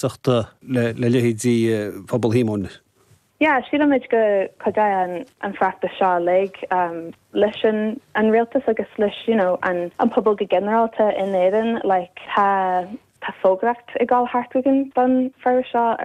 Gaeltachta le leithéidí Phobal Shíomóin. Yeah, sílimid go cuideoidh an feachtas seo uilig leis an an rialtas agus leis you know an an pobal go ginearálta in Éirinn. Like tá tá fógraíocht ag dul thart againn don fearas seo.